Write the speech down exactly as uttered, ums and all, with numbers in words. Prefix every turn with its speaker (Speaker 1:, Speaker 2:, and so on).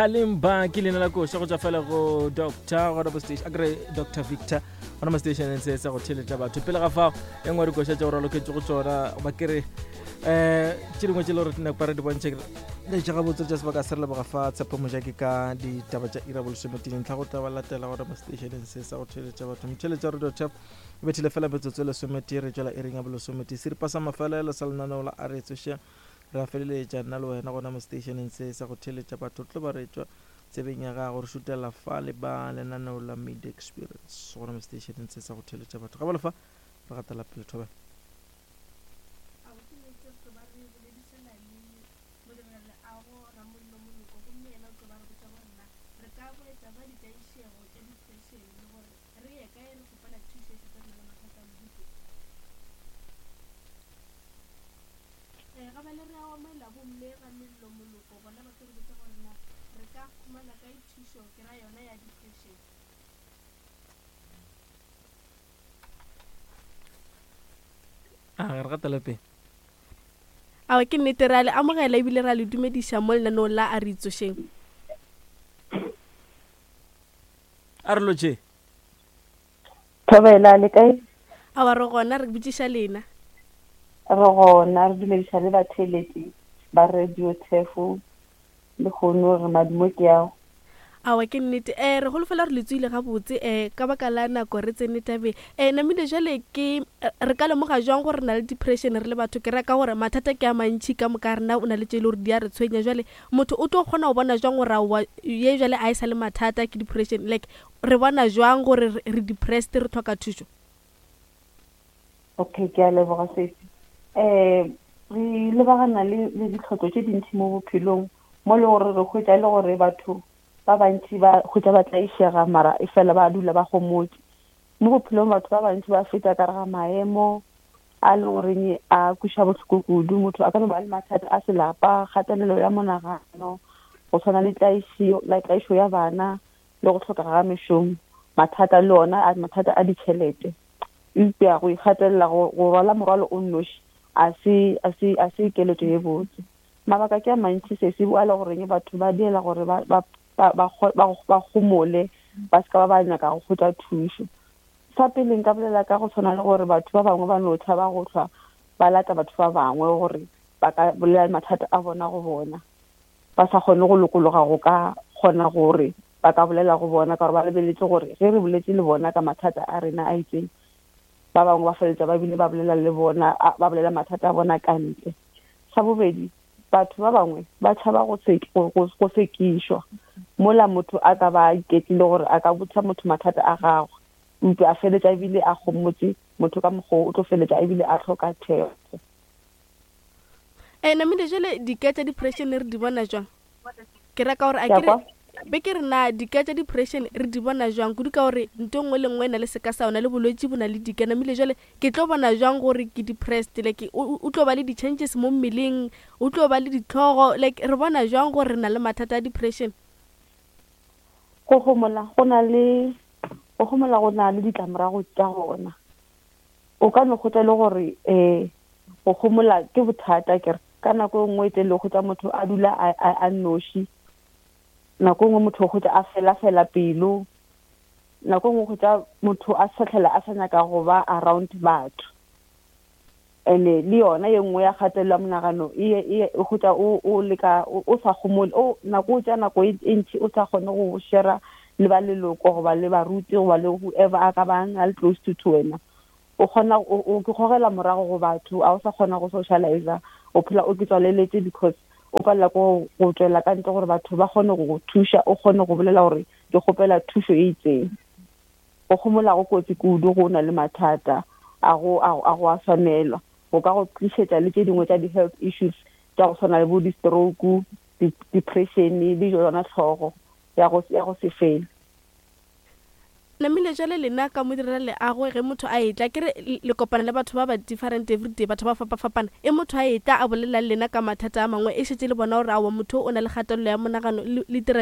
Speaker 1: Kalimba ke leina la koša go tšwa fela go Doctor gona mo station, a kere Doctor Victor gona mo stationeng se sa go theletša batho. Pele ga fao e nngwe dikoša tša go raloketše go tšona ba kere um tše dingwe tše le gore nako re di bontšhe letša gabotse tša sebaka se re leboga fa Tshepo Mojaki ka ditaba tša ira bolesometee ntlha go tla ba latela gona mo stationeng se sa go theletša batho. Motheletša Radio Tap e bethile fela metsotso e lesometee re tšwela iring ya bolesometee, seripa sa mafelelo sa lenaneo la a re tsoše re a feleletša nna le wena gona mo stationeng se sa go theletša batho. Tlo ba re tšwa tsebeng ya gago re šutela fa le ba lenaneo la Media Experience gona mo stationeng se sa go theletša batho. Ga ba lefa re gatela pele thobela. A re gatela pele.
Speaker 2: Awa ke nnete, re a le amogela ebile re a le dumediša mo lenaneong la a re itsošeng.
Speaker 1: A re lotše.
Speaker 3: Thobela, le kae?
Speaker 2: Awa re gona, re botšiša lena.
Speaker 3: Re gona, re dumediša le batheeletši ba Radio Thefo le kgono re madumo ke ao.
Speaker 2: Awa ke nnete, um re holofela gore le tsoile gabotse um ka baka la nako re tsene tabeng. Um namile jale ke re ka lemoga jwang gore re na le depression re le batho? Ke reka gore mathata ke a mantšhi ka moka rena, o na le tše e le gore di a re tshwenya. Jale motho o tlo kgona go bona jwang gore aowa ye jale a e sa le mathata ke depression? Like re bona jwang gore re depressed, re tlhoka thušo?
Speaker 3: Okay, ke a leboga sesi. Um re lebagana le le ditlhotlo tše dintši mo bophelong mo le gore re hwetša le gore batho ba bantši ba hwetša ba tlaišega mara e fela ba dula ba gomotše. Mo bophelong batho ba bantši ba feta ka re ga maemo a le goreng a kweša bohloko kudu. Motho a ka no ba le mathata a selapa, kgatelelo ya monagano, go tshwana le tlaišo ya bana le go hlokega ga mešomo, mathata le ona a mathata a ditšhelete. Eupša go ikgatelela go rwala morwalo o nnoši a se a se a se keletšo ye botse. Mabaka ke a mantši sesi a le goreng batho ba diela gore ba ba ba ba gomole ba se ka ba ba nyaka go hwetša thušo. Sa pele nka bolela ka go tshwana le gore batho ba bangwe ba no tšhaba go hlwa ba lata batho ba bangwe gore ba ka bolela mathata a bona go bona, ba sa kgone go lokologa go ka kgona gore ba ka bolela go bona ka gore ba lebeletse gore ge re boletse le bona ka mathata a rena a itseng, ba bangwe ba feleletša ba bile ba bolela le bona, ba bolela mathata a bona ka ntle. Sa bobedi, batho ba bangwe ba tšhaba go go sekišwa mola motho a ka ba iketlile gore a ka botša motho mathata a gagwe, eupša a feleletša ebile a gomotše motho ka mokgwa o tlo feleletša ebile a hloka thekgo.
Speaker 2: E namile jale dika tša depression re di bona jwang? Ke reka gore a ke be ke re na dika tša depression re di bona jwang kudu ka gore nto nngwe le nngwe e na le seka sa yona, le bolwetši bo na le dika. Namile jale ke tlo bona jwang gore ke depressed? Like o tlo ba le di-changes mo mmeleng, o tlo ba le ditlhogo, like re bona jwang gore re na le mathata a depression?
Speaker 3: Go gomola go na le go gomola go na le ditlamorago tša gona. O ka no hwetša le gore um go gomola ke bothata kere ka nako e nngwe e tle le hwetša motho a dula a nnoši, nako e nngwe motho o hwetša a fela fela pelo, nako e nngwe hwetša motho a sa tlhela a sa nyaka go ba around batho. Ene le yona ye nngwe ya kgatelelo ya monagano e hwetša o leka o sa gomole, o nako o tša nako e ntši o sa kgone go share le ba leloko goba le baruti goba le whoever a ka bang a le close to to wena. O kgona o ke gogela morago go batho, a o sa kgona go socialize, o phela o ke tswaleletse because o palela ko go tswela ka ntle gore batho ba kgone go go thuša, o kgone go bolela gore ke kgopela thušo e itseng. Go gomola go kotsi kudu go na le mathata a go a go a swanelwa, go ka go tlišetša le tše dingwe tša di-health issues tša go tshwana le bo di-stroke, depression le yona tlhogo ya go ya go se fele.
Speaker 2: Namile jale lena ka mo direla leago ge motho a etla ke re le kopana le batho ba ba different everyday, batho ba fapafapana, e motho a etla a bolela le lena ka mathata a mangwe e šetše le bona gore aowa motho o na le kgatelelo ya monagano, le dira